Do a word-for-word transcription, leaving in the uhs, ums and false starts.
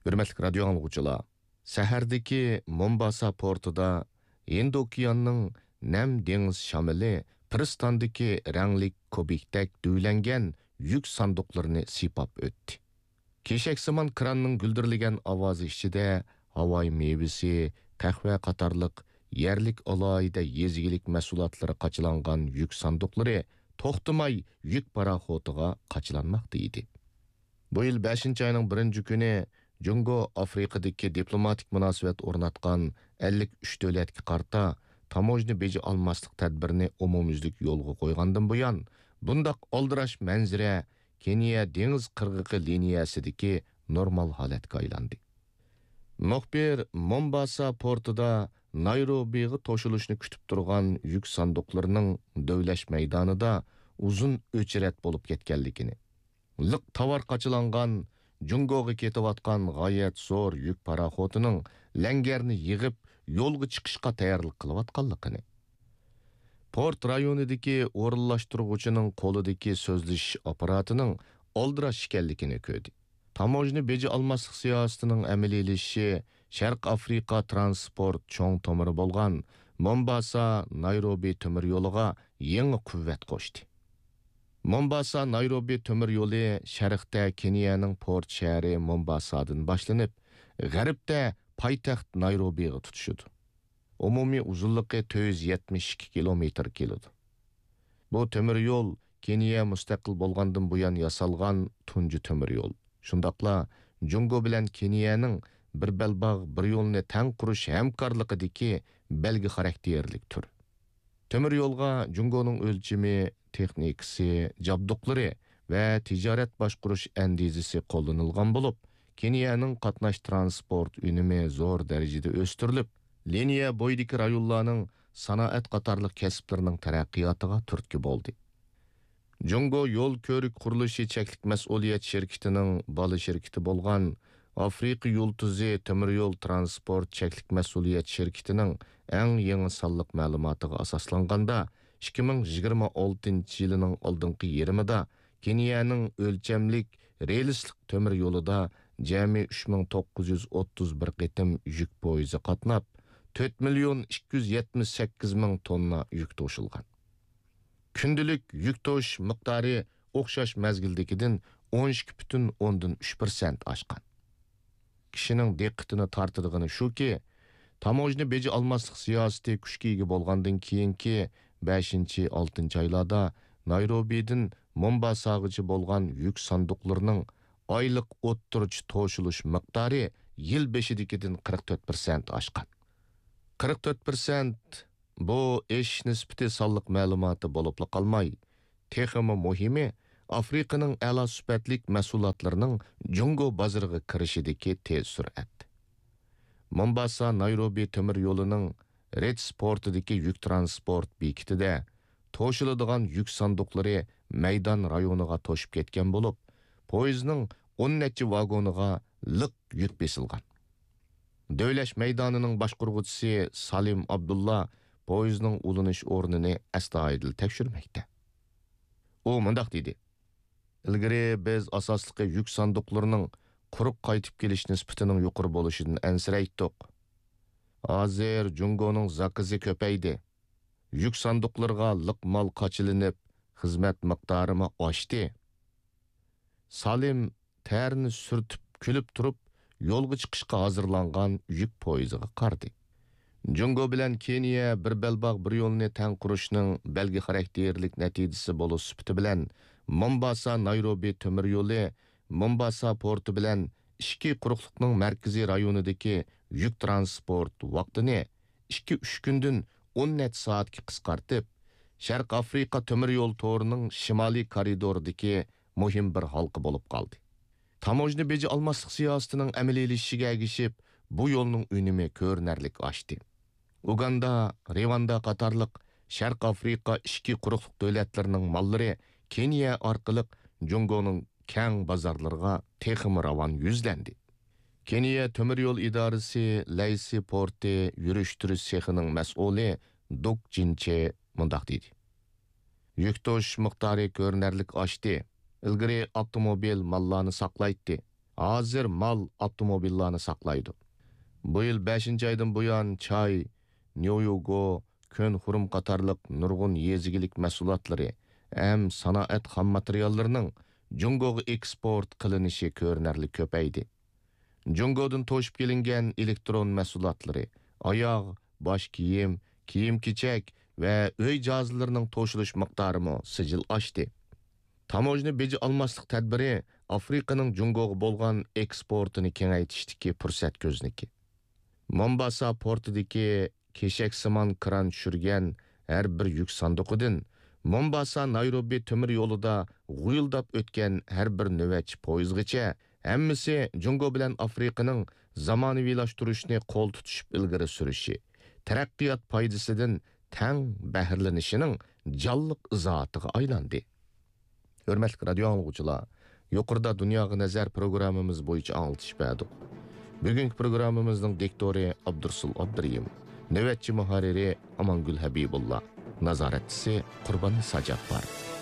ھۆرمەتلىك رادىيو ئاڭلىغۇچىلار، سەھەردىكى مومباسا پورتىدا ھىندى ئوكياننىڭ نەم دېڭىز شامىلى پىرىستاندىكى رەڭلىك كۇبىكتەك دۈۋىلەنگەن يۈك ساندۇقلىرىنى سىيپاپ ئۆتتى. كېشەكسىمان كراننىڭ گۈلدۈرلىگەن ئاۋازى ئىچىدە ھاۋاي مېۋىسى، قەھۋە قاتارلىق يەرلىك ئالاھىدە يېزا ئىگىلىك مەھسۇلاتلىرى قاچىلانغان يۈك ساندۇقلىرى توختىماي يۈك پاراخوتىغا قاچىلانماقتا ئىدى. بۇ يىل بەشىنچى ئاينىڭ بىرىنچى كۈنى جۇڭگو ئافرىقىدىكى دىپلوماتىك مۇناسىۋەت ئورناتقان ئەللىك ئۈچ دۆلەتكە قارىتا تاموژنا بېجى ئالماسلىق تەدبىرىنى ئومۇميۈزلۈك يولغا قويغاندىن بۇيان، بۇنداق ئالدىراش مەنزىرە كېنىيە دېڭىز قىرغىقى لىنىيەسىدىكى نورمال ھالەتكە ئايلاندى. مۇخبىر مومباسا پورتىدا نايروبىغا توشۇلۇشنى كۈتۈپ تۇرغان يۈك ساندۇقلىرىنىڭ دۆۋىلەش مەيدانىدا ئۇزۇن ئۆچرەت بولۇپ كەتكەنلىكىنى، لىق تاۋار قاچىلانغان جۇڭگوغا كېتىۋاتقان غايەت زور يۈك پاراخوتىنىڭ لەڭگەرنى يىغىپ، يولغا چىقىشقا تەييارلىق قىلىۋاتقانلىقىنى، پورت رايونىدىكى ئورۇنلاشتۇرغۇچىنىڭ قولىدىكى سۆزلىشىش ئاپپاراتىنىڭ ئالدىراش ئىكەنلىكىنى كۆردى. تاموژنا بېجى ئالماسلىق سىياسىتىنىڭ ئەمەلىيلىشىشى شەرق ئافرىقا ترانسپورت چوڭ تومۇرى بولغان مومباسا نايروبى تۆمۈر يولىغا يېڭى قۇۋۋەت قوشتى. مومباسا نايروبى تۆمۈر يولى شەرقتە كېنىيەنىڭ پورت شەھىرى مومباسادىن باشلىنىپ، غەربتە پايتەخت نايروبىغا تۇتىشىدۇ. ئومۇمىي ئۇزۇنلۇقى تۆت يۈز يەتمىش ئىككى كىلومېتىر كېلىدۇ. بۇ تۆمۈر يول كېنىيە مۇستەقىل بولغاندىن بۇيان ياسالغان تۇنجى تۆمۈر يول. شۇنداقلا جۇڭگو بىلەن كېنىيەنىڭ بىر بەلباغ، بىر يولنى تەڭ قۇرۇش ھەمكارلىقىدىكى بەلگە خاراكتېرلىك تۈر. تۆمۈر يولغا جۇڭگونىڭ ئۆلچىمى، تېخنىكىسى، جابدۇقلىرى ۋە تىجارەت باشقۇرۇش ئەندىزىسى قوللىنىلغان بولۇپ، كېنىيەنىڭ قاتناش تىرانسپورت ئۈنۈمى زور دەرىجىدە ئۆستۈرۈلۈپ، لىنىيە بويىدىكى رايونلارنىڭ سانائەت قاتارلىق كەسىپلىرىنىڭ تەرەققىياتىغا تۈرتكە بولدى. جۇڭگو يول كۆۋرۈك قۇرۇلۇشى چەكلىك مەسئۇلىيەت شىركىتىنىڭ بالا شىركىتى بولغان ئافرىقا يۇلتۇزى تۆمۈر يول ترانسپورت چەكلىك مەسئۇلىيەت شىركىتىنىڭ ئەڭ يېڭى سانلىق مەلۇماتىغا ئاساسلانغاندا، ئىككى مىڭ يىگىرمە ئالتىنچى يىلىنىڭ ئالدىنقى يېرىمىدا كېنىيەنىڭ ئۆلچەملىك رېلىسلىق تۆمۈر يولىدا جەمئىي ئۈچ مىڭ توققۇز يۈز ئوتتۇز بىر قېتىم يۈك پويىزى قاتناپ، تۆت مىليون ئىككى يۈز يەتمىش سەككىز مىڭ توننا يۈك توشۇلغان. كۈندىلىك يۈك توشۇش مىقدارى ئوخشاش مەزگىلدىكىدىن ئون ئىككى پۈتۈن ئوندىن ئۈچ پىرسەنت ئاشقان. كىشىنىڭ دىققىتىنى تارتىدىغىنى شۇكى، تاموژنا بېجى ئالماسلىق سىياسىتى كۈچكە ئىگە بولغاندىن كېيىنكى بەشىنچى، ئالتىنچى ئايلاردا نايروبىدىن مومباساغىچە بولغان يۈك ساندۇقلىرىنىڭ ئايلىق ئوتتۇرىچە توشۇلۇش مىقدارى يىل بېشىدىكىدىن قىرىق تۆت پىرسەنت ئاشقان. قىرىق تۆت پىرسەنت بۇ ئېشىش نىسبىتى سانلىق مەلۇماتى بولۇپلا قالماي، تېخىمۇ مۇھىمى، ئافرىقىنىڭ ئەلا سۈپەتلىك مەھسۇلاتلىرىنىڭ جۇڭگو بازىرىغا كىرىشىدىكى تېز سۈرئەت. مومباسا نايروبى تۆمۈر يولىنىڭ رېتس پورتىدىكى يۈك ترانسپورت بېكىتىدە توشۇلىدىغان يۈك ساندۇقلىرى مەيدان رايونىغا توشۇپ كەتكەن بولۇپ، پويىزنىڭ ئون نەچچە ۋاگونىغا لىق يۈك بېسىلغان. دۆۋىلەش مەيدانىنىڭ باشقۇرغۇچىسى سالىم ئابدۇللا پويىزنىڭ ئۇلىنىش ئورنىنى ئەستايىدىل تەكشۈرمەكتە. ئۇ مۇنداق دېدى: «ئىلگىرى بىز ئاساسلىقى يۈك ساندۇقلىرىنىڭ قۇرۇق قايتىپ كېلىش نىسبىتىنىڭ يۇقىرى بولۇشىدىن ئەنسىرەيتتۇق. ھازىر جۇڭگونىڭ زاكىزى كۆپەيدى. يۈك ساندۇقلىرىغا لىق مال قاچىلىنىپ، خىزمەت مىقدارىمۇ ئاشتى.» سالىم تەرىنى سۈرتۈپ كۈلۈپ تۇرۇپ، يولغا چىقىشقا ھازىرلانغان يۈك پويىزىغا قارىدى. جۇڭگو بىلەن كېنىيە بىر بەلباغ بىر يولنى تەڭ قۇرۇشنىڭ بەلگە خاراكتېرلىك نەتىجىسى بولۇش سۈپىتى بىلەن، مومباسا نايروبى تۆمۈر يولى مومباسا پورتى بىلەن ئىچكى قۇرۇقلۇقنىڭ مەركىزىي رايونىدىكى يۈك ترانسپورت ۋاقتىنى ئىككى، ئۈچ كۈندىن ئون نەچچە سائەتكە قىسقارتىپ، شەرق ئافرىقا تۆمۈر يول تورىنىڭ شىمالىي كارىدورىدىكى مۇھىم بىر ھالقا بولۇپ قالدى. تاموژنا بېجى ئالماسلىق سىياسىتىنىڭ ئەمەلىيلىشىشىگە ئەگىشىپ، بۇ يولنىڭ ئۈنۈمى كۆرۈنەرلىك ئاشتى. ئۇگاندا، رىۋاندا قاتارلىق شەرق ئافرىقا ئىچكى قۇرۇقلۇق دۆلەتلىرىنىڭ ماللىرى كېنىيە ئارقىلىق جۇڭگونىڭ كەڭ بازارلىرىغا تېخىمۇ راۋان يۈزلەندى. كېنىيە تۆمۈر يول ئىدارىسى لەيسى پورتى يۈرۈشتۈرۈش سېخىنىڭ مەسئۇلى دۇك جىنچې مۇنداق دېدى: «يۈك توشۇش مىقدارى كۆرۈنەرلىك ئاشتى. ئىلگىرى ئاپتوموبىل ماللارنى ساقلايتتى. ھازىر مال، ئاپتوموبىللارنى ساقلايدۇ. بۇ يىل بەشىنچى ئايدىن بۇيان چاي، نيويوگو، كۆن خۇرۇم قاتارلىق نۇرغۇن يېزا ئىگىلىك مەھسۇلاتلىرى ھەم سانائەت خام ماتېرىياللىرىنىڭ جۇڭگوغا ئېكسپورت قىلىنىشى كۆرۈنەرلىك كۆپەيدى. جۇڭگودىن توشۇپ كېلىنگەن ئېلېكترون مەھسۇلاتلىرى، ئاياغ، باش كىيىم، كىيىم-كېچەك ۋە ئۆي جاھازلىرىنىڭ توشۇلۇش مىقدارىمۇ سىجىل ئاشتى. تاموژنا بېجى ئالماسلىق تەدبىرى ئافرىقىنىڭ جۇڭگوغا بولغان ئېكسپورتىنى كېڭەيتىشتىكى پۇرسەت كۆزنىكى. مومباسا پورتىدىكى كېشەكسىمان كىران چۈشۈرگەن ھەر بىر يۈك ساندۇقىدىن مومباسا نايروبى تۆمۈر يولىدا غۇيۇلداپ ئۆتكەن ھەر بىر نۆۋەتچى پويىزغىچە ھەممىسى جۇڭگو بىلەن ئافرىقىنىڭ زامانىۋىلاشتۇرۇشنى قول تۇتۇشۇپ ئىلگىرى سۈرۈشى، تەرەققىيات پايدىسىدىن تەڭ بەھرىلىنىشىنىڭ جانلىق ئىزاھاتىغا ئايلاندى. ھۆرمەتلىك رادىيو ئاڭلىغۇچىلار، يۇقىرىدا دۇنياغا نەزەر پروگراممىمىز بويىچە ئاڭلىتىش بەردۇق. بۈگۈنكى پروگراممىمىزنىڭ دىكتورى ئابدۇرسۇل ئابدۇرېھىم، نۆۋەتچى مۇھەررىرى ئامانگۈل ھەبىبۇللا، نازارەتچىسى قۇرباننىسا جاپپار.